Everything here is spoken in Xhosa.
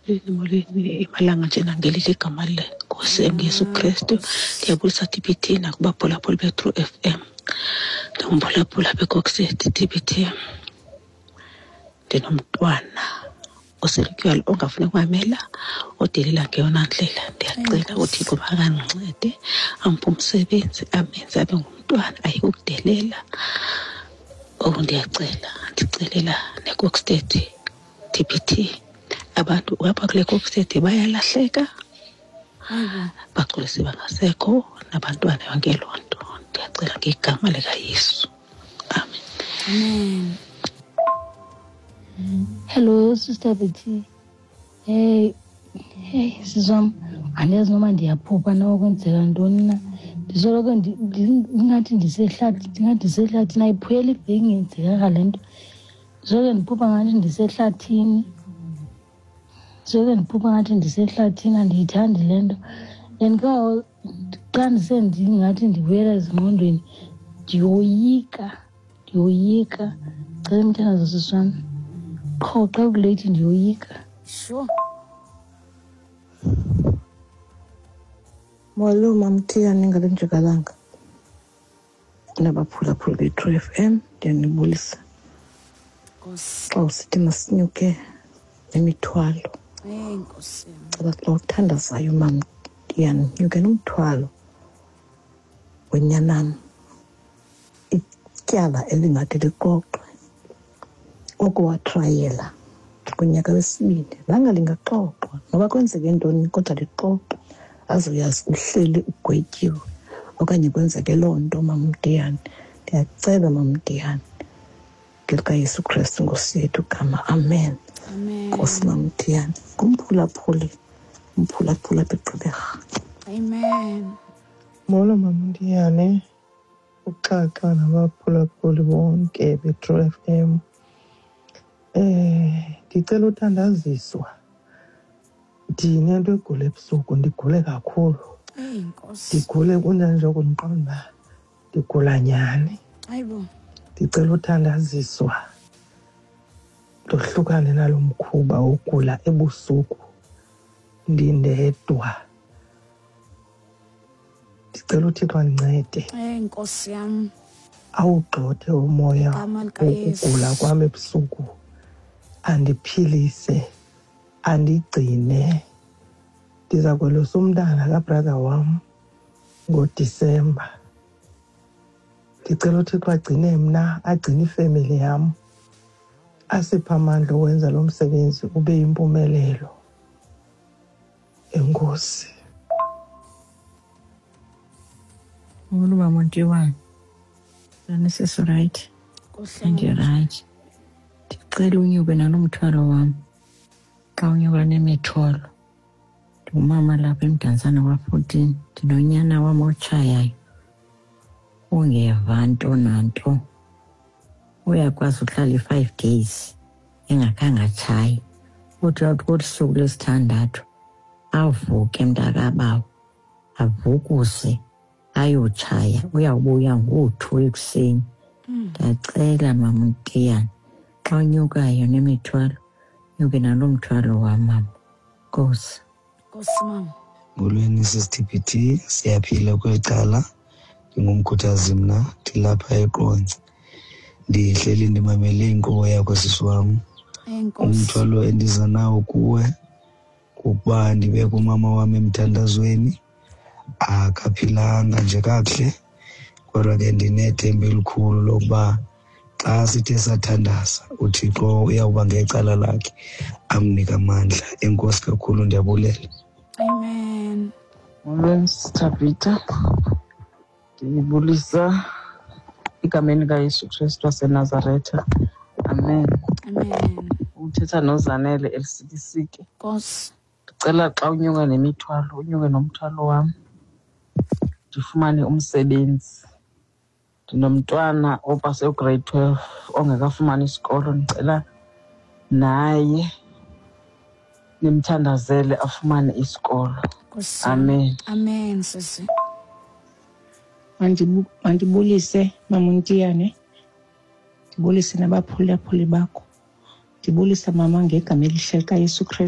Molweni, molweni, emalanga nje nangelile igama leNkosi enguYesu Kristu. Ndiyabulisa TBT nakubaphulaphuli beTrue FM. Ndingumphulaphuli apha eKokstad TBT. Ndinomntwana oselutywala ongafuni kumamela, odelela ngeyona ndlela. Ndiyacela uThixo makandincede amphe umsebenzi, amenze abe ngumntwana ayeke ukudelela. Oku ndiyacela, ndicelela neKokstad TBT. Abantu apha kule Kokstad bayalahleka, bagculise bangasekho nabantwana, yonke loo nto. Ndiyacela ngegama likaYesu, amen. Amen. Hello, Sister Betty. Hey, hey, sisi wam, andiyazi noba ndiyaphupha na okwenzeka ntoni na. Ndisoloko ingathi ndisehlathi, ndingathi ndisehlathini, ayipheli iveki ingenzekanga le nto. Ndisoloko ndiphupha ngathi ndisehlathini. Ndisoloko ndiphupha ngathi ndisehlathini, andiyithandi le nto. And ke ngoku xa ndisendingathi ndibuyela ezingqondweni, ndiyoyika, ndiyoyika. Cela umthandazo, sisi wam. Qho xa kuleyithi ndiyoyika. Sure. Molo Mamthiyane ngale njikalanga nabaphulaphuli be-True FM, ndiyanibulisa. Nkosi. Xa usithi masinyuke nemithwalo, Hey, Nkosi yam. caba xa uthandazayo Mamthiyane, nyuke nomthwalo wenyanam, ityala elingathi lixoxwe oko watrayela kunyaka wesibini, langa lingaxoxwa noba kwenzeke ntoni, kodwa lixoxwe azoyazi uhleli ugwetyiwe okanye kwenzeke loo nto. Mamdiyane, ndiyacela Mamdiyane ngelikaYesu Kristu Nkosi yethu gama, amen. Amen. Nkosi Mamdiyane, ngumphulaphuli, umphulaphuli apha eGqeberha. Amen. Molo Mamndiyane, uXaxa nabaphulaphuli bonke beTrue FM. Ndicela uthandaziswa. Ndinento egula ebusuku, ndigule kakhulu. Hey, Nkosi. Ndigule kunjani nje kundiqonda uba ndigula nyhani. Hayibo. Ndicela uthandaziswa ndohlukane nalo mkhuba wogula ebusuku ndindedwa. Ndicela uThixo andincede. Hey, Nkosi yam. Awugxothe umoya Igama likaYesu. wokugula kwam ebusuku, andiphilise, andigcine. Ndiza kwelusa umntana kabrother wam ngoDisemba. Ndicela uThixo agcine mna, agcine ifemeli yam, asiphe amandla okwenza lo msebenzi ube yimpumelelo. Enkosi. Molo Mamontiwane. Njani sisi, right? Kuhle. Ndirayithi. Ndicela unyuke nalo mthwalo wam. Xa unyuka nemithwalo. Ndingumama lapha eMdantsane kwa-14. Ndinonyana wam otshayayo. Ungeva nto nanto. Uyakwazi uhlala i-5 days engakhange atshaye. Uthi awuthi kolu suku lwesithandathu avuke mntakabawo, avukuse ayotshaya, uyawubuya ngoo-2 ekuseni. Ndiyacela Mamtiyane, xa unyukayo nemithwalo, nyuke nalo mthwalo wam mama. Nkosi. Nkosi mama. Molweni sisi TBT, siyaphila kweli cala. Ndingumkhuthazi mna, ndilapha eQonce. Ndihleli ndimamele inkqubo yakho sisi wam. Hey, Nkosi. Umthwalo endiza nawo kuwe kukuba ndibeke umama wam emthandazweni. Akaphilanga nje kakuhle, kodwa ke ndinethemba elikhulu lokuba xa sithe sathandaza uThixo uyawuba ngecala lakhe amnike amandla. Enkosi kakhulu, ndiyabulela. Amen. Molweni Sithabitha, ndibulisa egameni likaYesu Kristu waseNazaretha, amen. Amen. Uthetha noZanele Elisikisiki. Nkosi. Ndicela xa unyuka nemithwalo unyuke nomthwalo wam, ndifumane umsebenzi. Ndinomntwana opase ugrade 12 ongekafumani isikolo, ndicela naye nimthandazele afumane isikolo. Nkosi yam. Amen. Amen sisi. Mandibulise Mamontiyane, ndibulise nabaphulaphuli bakho, ndibulise mama ngegama elihle likaYesu Kristu.